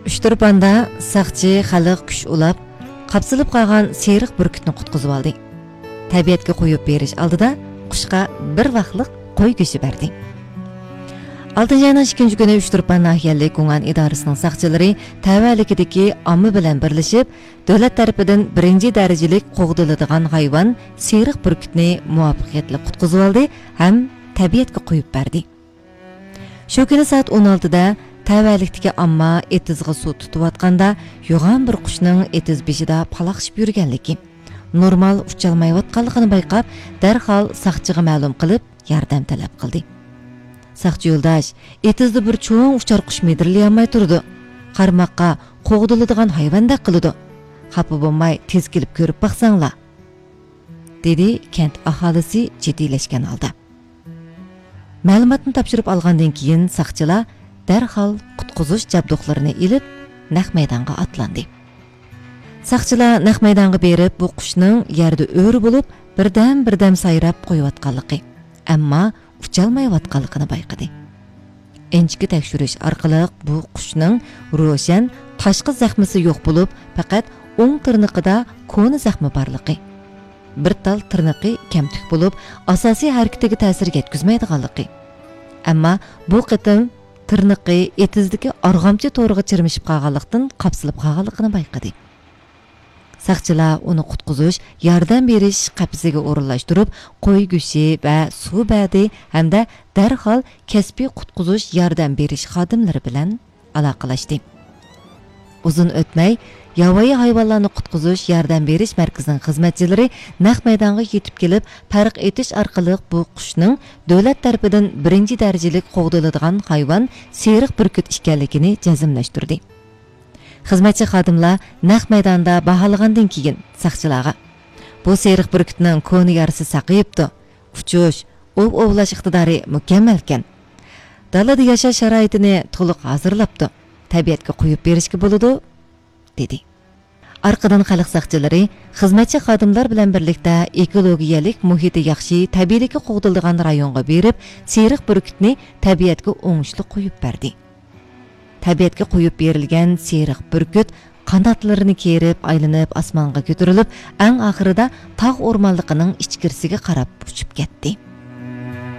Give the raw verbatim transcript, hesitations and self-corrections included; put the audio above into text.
ئۇچتۇرپاندا ساقچى خەلق كۈچ ئۇلاپ، قاپسىلىپ قالغان سېرىق بۈركۈتنى قۇتقۇزۇۋالدى. تەبىئەتكە قويۇپ بېرىش ئالدىدا قۇشقا بىر ۋاقلىق قوي گۆشى بەردى. ئالتىنچى ئاينىڭ ئىككىنچى كۈنى ئۇچتۇرپان ناھىيەلىك گۇڭئەن ئىدارىسىنىڭ ساقچىلىرى تەۋەلىكىدىكى ئامما بىلەن بىرلىشىپ، دۆلەت تەرىپىدىن بىرىنچى دەرىجىلىك قوغدىلىدىغان ھايۋان سېرىق بۈركۈتنى مۇۋەپپەقىيەتلىك قۇتقۇزۇۋالدى ھەم تەبىئەتكە قويۇپ بەردى. شۇ كۈنى سائەت ئون ئالتىدە تەۋەلىكتىكى ئامما ئېتىزغا سۇ تۇتۇۋاتقاندا، يوغان بىر قۇشنىڭ ئېتىز بېشىدا پالاقشىپ يۈرگەنلىكى، نورمال ئۇچالمايۋاتقانلىقىنى بايقاپ، دەرھال ساقچىغا مەلۇم قىلىپ، ياردەم تەلەپ قىلدى. ساقچى يولداش، ئېتىزدا بىر چوڭ ئۇچار قۇش مىدىرلىيالماي تۇرىدۇ. قارىماققا قوغدىلىدىغان ھايۋاندەك قىلىدۇ. خاپا بولماي، تېز كېلىپ كۆرۈپ باقساڭلار، دېدى كەنت ئاھالىسى جىددىيلەشكەن ھالدا. مەلۇماتنى تاپشۇرۇپ ئالغاندىن كېيىن، ساقچىلار دەرھال قۇتقۇزۇش جابدۇقلىرىنى ئېلىپ، نەق مەيدانغا ئاتلاندى. ساقچىلار نەق مەيدانغا بېرىپ، بۇ قۇشنىڭ يەردە ئۆرە بولۇپ، بىردەم-بىردەم سايراپ قويۇۋاتقانلىقى، ئەمما ئۇچالمايۋاتقانلىقىنى بايقىدى. ئىنچىكە تەكشۈرۈش ئارقىلىق بۇ قۇشنىڭ روشەن تاشقى زەخمىسى يوق بولۇپ، پەقەت ئوڭ تىرنىقىدا كونا زەخمە بارلىقى، بىر تال تىرنىقى كەمتۈك بولۇپ، ئاساسىي ھەرىكىتىگە تەسىر يەتكۈزمەيدىغانلىقى، ئەمما بۇ قېتىم تىرنىقى ئېتىزدىكى ئارغامچا تورىغا چىرمىشىپ قالغانلىقتىن، قاپسىلىپ قالغانلىقىنى بايقىدى. ساقچىلار ئۇنى قۇتقۇزۇش، ياردەم بېرىش قەپىسىگە ئورۇنلاشتۇرۇپ، قوي گۆشى ۋە سۇ بەردى ھەمدە دەرھال كەسپىي قۇتقۇزۇش ياردەم بېرىش خادىملىرى بىلەن ئالاقىلەشتى. ئۇزۇن ئۆتمەي، ياۋايى ھايۋانلارنى قۇتقۇزۇش ياردەم بېرىش مەركىزىنىڭ خىزمەتچىلىرى نەق مەيدانغا يېتىپ كېلىپ، پەرق ئېتىش ئارقىلىق بۇ قۇشنىڭ دۆلەت تەرىپىدىن بىرىنچى دەرىجىلىك قوغدىلىدىغان ھايۋان سېرىق بۈركۈت ئىكەنلىكىنى جەزملەشتۈردى. خىزمەتچى خادىملار نەق مەيداندا باھالىغاندىن كېيىن، ساقچىلارغا، بۇ سېرىق بۈركۈتنىڭ كونا يارىسى ساقىيىپتۇ. ئۇچۇش، ئوۋ ئوۋلاش ئىقتىدارى مۇكەممەلكەن. دالادا ياشاش شارائىتىنى تولۇق ھازىرلاپتۇ. تەبىئەتكە قويۇپ بېرىشكە بولىدۇ، دېدى. ئارقىدىن خەلق ساقچىلىرى خىزمەتچى خادىملار بىلەن بىرلىكتە ئېكولوگىيەلىك مۇھىتى ياخشى، تەبىئىيلىكى قوغدىلىدىغان رايونغا بېرىپ، سېرىق بۈركۈتنى تەبىئەتكە ئوڭۇشلۇق قويۇپ بەردى. تەبىئەتكە قويۇپ بېرىلگەن سېرىق بۈركۈت قاناتلىرىنى كېرىپ، ئايلىنىپ ئاسمانغا كۆتۈرۈلۈپ، ئەڭ ئاخىرىدا تاغ ئورمانلىقىنىڭ ئىچكىرىسىگە قاراپ ئۇچۇپ كەتتى.